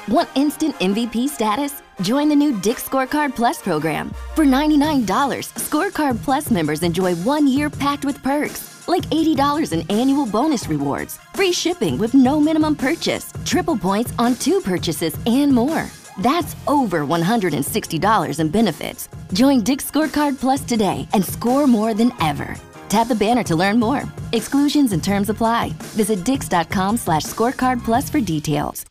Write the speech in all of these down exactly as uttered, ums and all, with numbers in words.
Want instant M V P status? Join the new Dick's Scorecard Plus program. For ninety-nine dollars, Scorecard Plus members enjoy one year packed with perks, like eighty dollars in annual bonus rewards, free shipping with no minimum purchase, triple points on two purchases, and more. That's over one hundred sixty dollars in benefits. Join Dick's Scorecard Plus today and score more than ever. Tap the banner to learn more. Exclusions and terms apply. Visit dicks.com slash scorecard plus for details.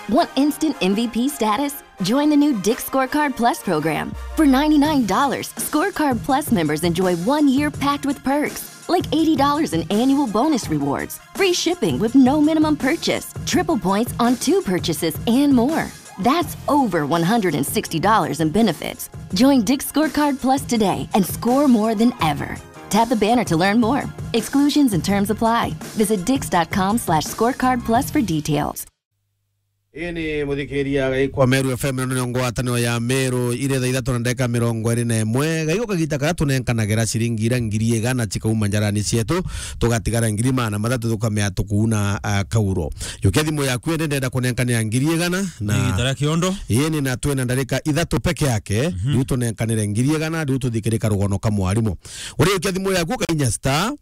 Want instant M V P status? Join the new Dick's Scorecard Plus program. For ninety-nine dollars, Scorecard Plus members enjoy one year packed with perks, like eighty dollars in annual bonus rewards, free shipping with no minimum purchase, triple points on two purchases, and more. That's over one hundred sixty dollars in benefits. Join Dick's Scorecard Plus today and score more than ever. Tap the banner to learn more. Exclusions and terms apply. Visit dicks.com slash scorecard plus for details. Ii ni muthikiria gaikwa Meru F M, ino ni ngwataniro ya Meru, iri thaa ithatu na ndagika mirongo iri na imwe. Gaiko kagita karia tunenkanagira ciringi ira ngiri igana cikauma njarani cietu, tugatigara ngiri magana mathatu tukamea tukuuna, ah, kauro. Yukia thimu yaku ende ndenda kunenkanira ngiri igana na Ni gitara kiondo. Ii ni na twina ndarika ithatu peke yake, Mhm. riu tunenkanire ngiri igana, riu tuthikirika rugono ka mwarimu. Uri yukia thimu yaku kainya star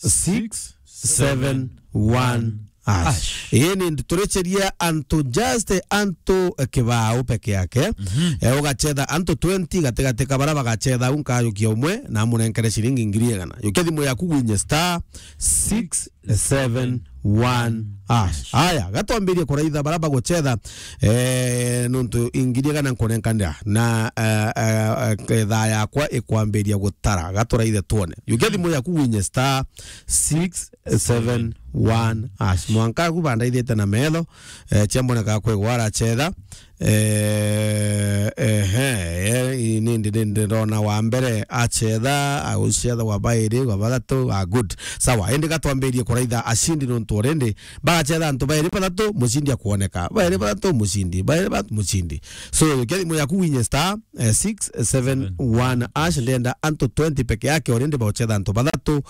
six seven one hash. Hash. Ii ni turiceria antu, just antu, eh, kibao peke yake. Mhm. Eh, ugacetha antu twenty gatigati ka bara bagacetha au nkajukia umwe na amunenkere ciringi ngiri igana. Yukia thimu yaku gwinye star six seven one hash. Aya, gatwambirie kuraitha bara bagucetha, eh, nontu ngiri igana nkunenkanira na, eh, eh, eh, thaa yakwa ikwambiria gutara. Gaturaithe twone. Yukia thimu yaku gwinye star six seven one hash. Mwanka agu bandaithite na metho, eh, ciamboneka kwigwa aracetha. Eh, ehe, eh, nindi, nindi ndona wa mbere acetha, agucetha wa bairi, wa bathatu, ah, good. Sawa, indi gatwambirie kuraitha acindi nontu already bagacetha antu bairi bathatu, mucindi akwoneka. Bairi bathatu, mucindi. Bairi bathatu, mucindi. So, yukia thimu yaku winye star, eh, six seven one hash, ndenda antu twenty peke yake, already baucetha antu bathatu,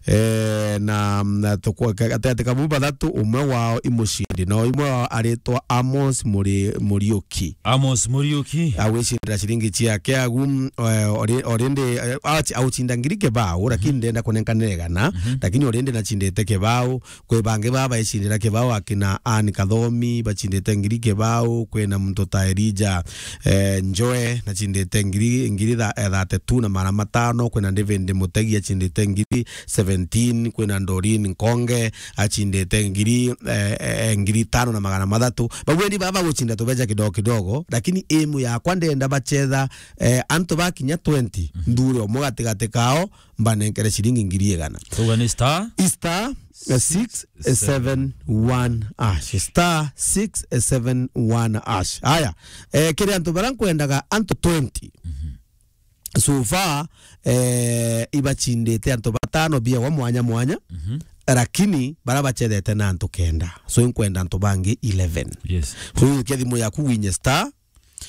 eh, na, na tukwa-, ka-, gatigati ka bau bathatu, umwe wao i mucindi, na umwe wao aritwa Amos Muri-, Muriuki. Amos Muriuki. Agwicindira ciringi ciake agu, mm, eh, ori-, already, eh, aci-, aucinda ngiri kibao, lakini Mhm. ndenda kunenkanira igana, Mhm. lakini already nacindite kibao, Kwi bangi baa baicindira kibao, akina Anne Kathomi bacindite ngiri kibao, kwina muntu ta Elijah, eh, Njoe nacindite ngiri, ngiri tha-, eh, thirty-two na magana matano, kwina David Mutegi acindite ngiri seventeen, kwina Doreen Nkonge acindite ngiri, eh, eh, ngiri itano na magana mathatu. Bau eni baa bagucinda tubeca kidogo kidogo, lakini aim yakwa ndenda bacetha, eh, antu bakinya twenty, Mhm. nthure umwe gatigati kao, mbanenkere ciringi ngiri igana. Tuga ni star? Star, eh, six seven one hash. Star six seven one hash. Aya, eh, kiri antu bara nkwendaga antu twenty. Mhm. So far, eh, ibacindite antu batano biawa mwanya mwanya. Mhm. Lakini bara bacethete na antu kenda. So nkwenda antu bangi eleven. Yes. So yukia thimu yaku winye star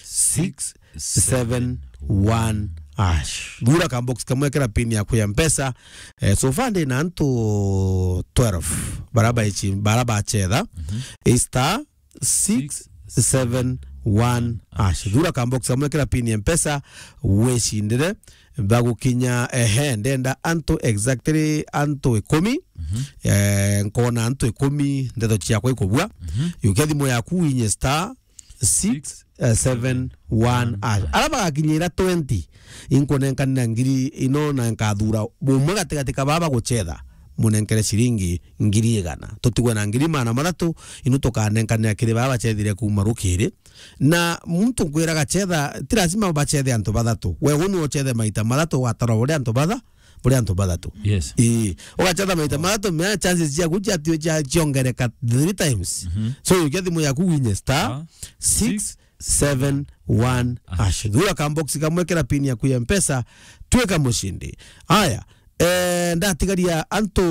six seven one hash. Thura ka box kamwe kira pin yaku ya Mpesa. Eh, so far ndi na antu twelve bara baichi, bara bacetha. Mhm. Star six seven one hash. Thura ka box kamwe kira pin ya Mpesa, wicindire bagukinya, ehe, ndenda antu exactly antu ikumi. Mhm. Eh, nkona antu ikumi, ndeto ciakwa ikubua. Mhm. Yukia thimu yaku winye star six seven one hash. Ara bagakinyira twenty, inkunenkanira ngiri ino na nkathura umwe gatigati ka baba gucetha, munenkere ciringi ngiri igana. Tutigwe na ngiri magana mathatu, inu tukanenkanira kiri baba bacethire kuuma rukiri. Na muntu nkwira gacetha, ti lazima bacethe antu bathatu. We unu ucethe maita mathatu, ugatarwa uri antu batha-, buri antu bathatu. Yes. Ii. Ugacetha maita mathatu, mea chances ciaku cia, cia, ciongereka three times. Mhm. So, yukia thimu yaku winye star six seven one hash. Thura ka box kamwe kira pin yaku ya Mpesa, twika mucindi. Aya, eh, ndatigaria antu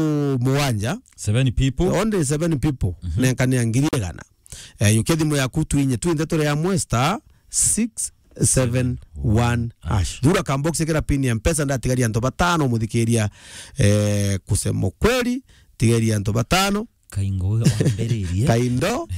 mugwanja. Seven people. Only seven people. Mhm. Nenkania ngiri igana. Eh, yukia thimu yaku twinye, twinthe turi amwe star six seven one hash. Thura ka box kira pin ya Mpesa, ndatigaria antu batano muthikiria, eh, kusema kweli, tigaria antu batano. Kaingo we wambiririe. Kaindo.